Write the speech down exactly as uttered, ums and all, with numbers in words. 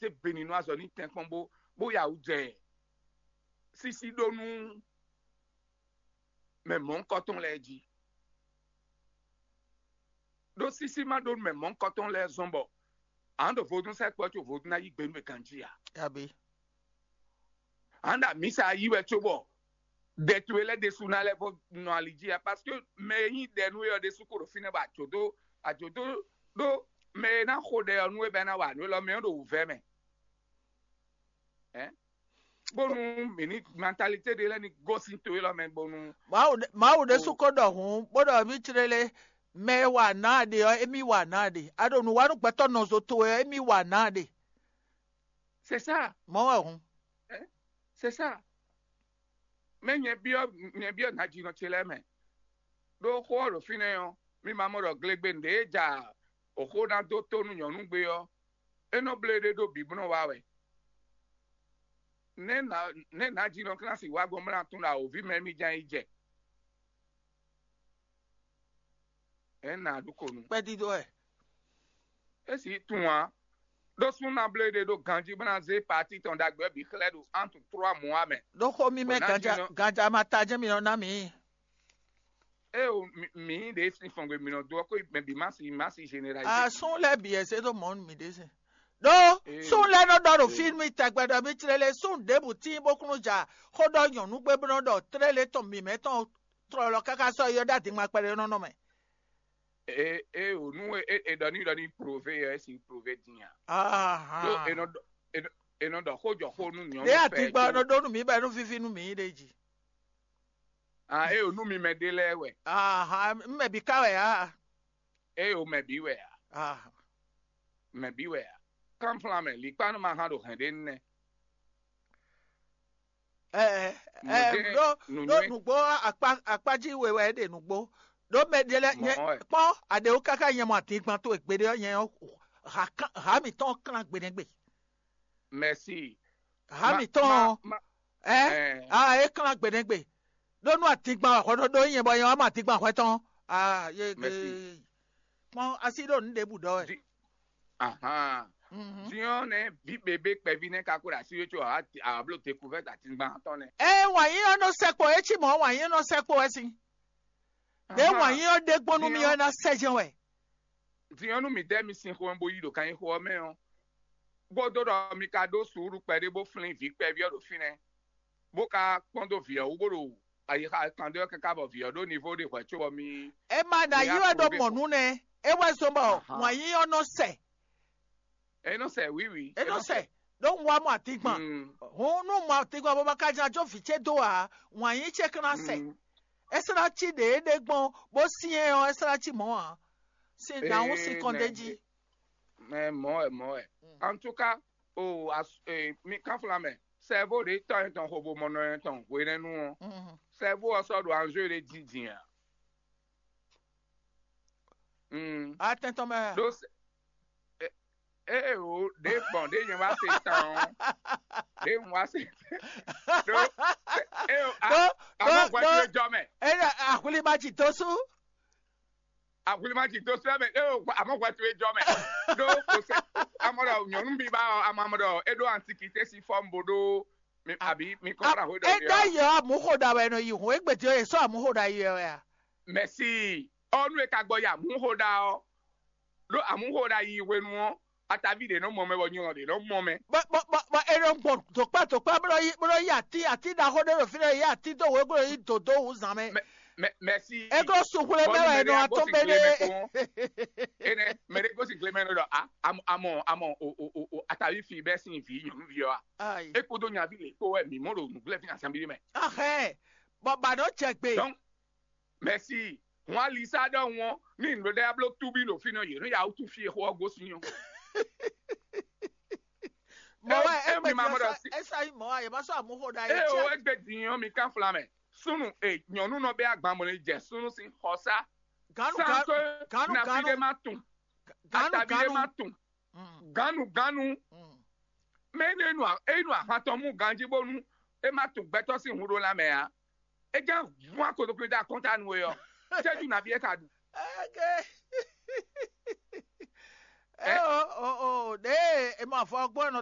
te beninu azɔ ní tɛnkpɔn bó bó ya wú jɛ sísí ɖó nú mɛ mɔ̌hunkɔtɔn lɛ́ɛ jí. Ɖó sísí ma ɖó nú mɛ mɔ̌hunkɔtɔn lɛ́ɛ zɔn bɔ a nǎ ɖo vodún sɛkpɔ́ có vodún ná yí gbe nú mɛ ganjí ǎ. Abi. A nǎ ɖo amǐsa yí wɛ cóbɔ ɖɛ towe lɛ́ɛ ɖésú ná lɛ́ vɔ nɔ ali jí ǎ, parce que mɛ e nyí ɖɛ nú we ɔ́ ɖésú ko ɖo fínɛ́ bɔ ajǒ dó ajǒ dó ɖó mɛ e ná xo ɖɛ ɔ́ nú we bɔ é ná wa nǔ élɔ́ mɛ ɔ́ ɖo wǔvɛ́ mɛ. Bónú mǐ ní mentalité ɖé lɛ́ɛ ní gosín to élɔ́ mɛ bónú Mawu ɖe- Mawu ɖésú ko ɖɔ hǔn bó ɖɔ mí clélé mɛ e wa nǎ a ɖe ɔ́, émí wa nǎ a ɖe. A ɖo nǔ wa nú gbɛtɔ́ nɔzo towe ɔ́, émí wa nǎ a ɖe. C'est ça. Mɔ̌ wɛ hǔn. C'est ça. Mɛ nyɛ byɔ́ nyɛ byɔ́ nǎjínɔ ce lɛ́ɛ mɛ. Ɖó xó ɔ́ ɖo fínɛ́ ɔ́, mi ma mɔ ɖɔ glegbe nǔɖé e ja oxó ná dó tó nú nyɔ̌nu gbe ɔ́, é nɔ bló éɖée ɖó bǐ bó nɔ wa wɛ. Nɛ̌ nǎ nɛ̌ nǎjínɔ Klásí wá gbɔn bó ná tunwun ɖɔ awǒvi mɛ mì ján yi jɛ? Ě nǎ ɖu ko nu. Kpɛdídó wɛ. É sì tunwun ǎ. Ɖó súnnu ná bló éɖée ɖó ganjí bó ná zé paati tɔn ɖagbe ɔ́ bǐ xlɛ́ ɖo antu trɔ́a mɔ̌ ǎ mɛ. Ɖó xó mímɛ́ Bɔ ná ganja, jínɔ- ganja ma ta jɛ́n mi nɔ ná mǐ. Ée o, mǐ ɖě sín fɔngbe mǐ nɔ dó ɔ́, xó mɛ bǐ má si má si généralisé. Asún lɛ́ɛ bǐ ɛ zé ɖó mɔ̌ nú mǐ ɖésú. Ɖó Ee. Súnnu lɛ́ɛ nɔ ɖɔ ɖo Ee. Fí nú mì tɛgbɛ ɖɔ mì tlélé súnnu ɖěbǔ tíin bó kún nɔ ja xó ɖɔ nyɔ̌nu gbe bó nɔ ɖɔ tlélé tɔn mǐmɛ́ tɔn tlɔlɔ káká sɔ́ yi ɔ́ ɖó adǐngban kpɛɖé nɔ mɛ. Ee, ee, o nú e e ɖɔ ní ɖɔ ní prove ɔ́, é sin prove din a? Ɖó Ahan. E nɔ ɖɔ e nɔ- e nɔ ɖɔ xó jɔ xó nú nyɔ̌nu Ɖé fɛ adígba ɔ́ nɔ ɖó nú mǐ bɔ é nɔ víví nú mǐ ɖe jí. Ah, e o nú mi mɛ ɖé lɛ́ɛ wɛ. Ahan, mɛ bǐ ká wɛ a? E o mɛ bǐ wɛ a? Ahan. Mɛ bǐ wɛ a? Kánflán mɛ likpá nú ma hán ɖo hɛ̌n ɖé nɛ́. Ɛ ɛ Nǔɖé- ɖó ɖó nǔnywɛ́- nǔgbó akpá akpájí we wɛ é ɖe nǔgbó. Ɖó mɛ ɖé lɛ́ɛ nyɛ Mɔ̌ wɛ. Kpɔ́n aɖěwú káká nyɛ mɔ adingban towe gbeɖé ɔ́ nyɛ ɔ́ ha kán ha mǐtɔn ɔ́ klán gbeɖɛgbe. Mɛsi. Ha Ma- mǐtɔn ma- ɔ́ ma- ɛ ɛ, a é klán gbeɖɛgbe. Ɖó nú adingban wɛ hwɛ ɖó ɖó nyɛ bɔ nyɛ wá mɔ adingban hwɛ tɔn. A ye Mɛsi. Kpɔ́n asi ɖo nǔ ɖěbǔ ɖɔ wɛ. Di- Ahan. Mhm. Din ɔ́ nɛ́ vǐ bebé kpɛví nɛ́ ka ko ɖo así wé có a a bló découverte atingban tɔn nɛ́. Ée wǎn yíyɔ nɔ sɛkpɔ é cí mɔ̌ wǎn yíyɔ nɔ sɛkpɔ wɛ sín. Ɖě Ahan. Wǎn yíyɔ ɖé gbɔn nú mì Din ɔ́ ɔ́ ɔ́, ná sɛjɛn wɛ. Din ɔ́ nú mǐ dɛ́ mi sin xomɛ bó yí ɖo kannyixo ɔ́ mɛ ɔ́, bó dó ɖɔ mi ka ɖó suúlu kpɛɖé bó flín vǐ kpɛví ɔ́ ɖo fínɛ́, bó ka kpɔ́n dó vǐ ɔ́ wú bó ɖo ayixa kan ɖé ɔ́ káká bɔ vǐ ɔ́ ɖó nivo ɖé hwɛ̌ có bɔ mi É ma ɖo mi ayí wɛ ɖó aprouvé mɔ̌ xo. Nú nɛ́. É wɛ zɔ́n bɔ Ahan. Wǎn yíyɔ nɔ sɛ. É nɔ sɛ wǐwǐ. É nɔ sɛ. Ɖó un wá mɔ atingban. Mm. Hǔn nú mɔ atingban bó ma ka ján jó vǐ ce dó ǎ, wǎn yí ce kán ná sɛ. Mm. É sɔ́ ná cí ɖě é ɖe gbɔn bó syɛ́n ɔ́, é sɔ́ ná cí mɔ̌ ǎ. Sin nǎhún sin kɔn d'é jí. Mɛ mɔ̌ wɛ mɔ̌ wɛ. Mm. En tout cas, o as- eh, mi kánflán mɛ, sɛvo ɖě tɔn yɛn tɔn xo bo mɔ nɔ yɛn tɔn hwenɛ́nu ɔ́, Mhm. Sɛvo ɔ́ sɔ́ ɖo anjou ɖé jí din ǎ. Mm. Atɛn tɔn mɛ. Ɖó se- e- ée o ɖě gbɔn ɖě nyɛ wá se tán ɔ́, ɖě un wá se ɖó ée o a- Ɖó- amɔ ɖó- hwɛ ɖó- towe jɔ mɛ. Eye ahwlima ji dó sú. Ahwlima ji dó sú ɛmɛ ée o amɔ hwɛ towe jɔ mɛ. Ɖó kò sɛ amɔ ɖɔ nyɔnu bí ba ɔ amɔ amɔ ɖɔ é ɖó antikité si fɔm bo ɖó mi- abi mi kɔn fla hwe ɖɔ É mi dá ɔ. Yɔ amúxoɖa wɛ nɔ yi hùn égbè tí ó yẹ sɔ amúxoɖa yi wɛ a? Mɛsi ɔnu e ka gbɔ yi amúxoɖa ɔ ɖó amúxoɖa yi hwenu ɔ atavi ɖe nɔ mɔ mɛ bɔ nyɔlɔ ɖe nɔ mɔ mɛ. Bɔ bɔ bɔ bɔ e nɔ gbɔn dòkpá dòkpá bó nɔ yi bó nɔ yi ati ati ɖaxó ɖé ɖo fí nɔ yi ati dó wě bó nɔ yi dòdó wú zan mɛ. Mɛ mɛsi É glɔ́ suxwlé mɛ wɛ nɔ atɔ́n bɛ ɖé. Ene mɛ ɖé gosi gle mɛ nɔ ɖɔ a amɔ amɔ amɔ o o o o atavi fi bɛ sin vi nyɔnuvi ɔ a. Ayi. E kpodo nyavi le kpo wɛ mi mɔ ɖo nugblɛ fi na sanbi mɛ. Ahɛn. Bɔ ba nɔ jɛ gbe. Donc mɛsi wọn alisa ɖɔ wọn ní nɖó ɖe ablo tubi ɖo fi nɔ yě nɔ ya wutu fi exo ɔgó sin ɔ. Mɔ wɛ Eo- eo egbe mi ma mɔ ɖɔ si- Esa yi mɔ wa yɛ ma sɔ amuxo ɖa yɛ Eye o egbe din ɔn mi kan flan mɛ. Sunu e nyɔnu nɔ bɛ agban mɔ ne jɛ sunu sin xɔsa. Ganu San ganu to ganu nafi ɖe ganu ma tun. Ganu Atavi ɖe ganu. Ma tun. Mm, Ganu ganu. Mm. Mɛ enu enu enu ahan tɔn mu ganji bonu e ma tun gbɛtɔ sin hun ɖo lanmɛ a. E jan vun akodokunle da kɔnta nu e ɔ. Cɛju navi e ka ɖu. Eke. Eh? Eh, o o o de e ma fɔ gbɔ nɔ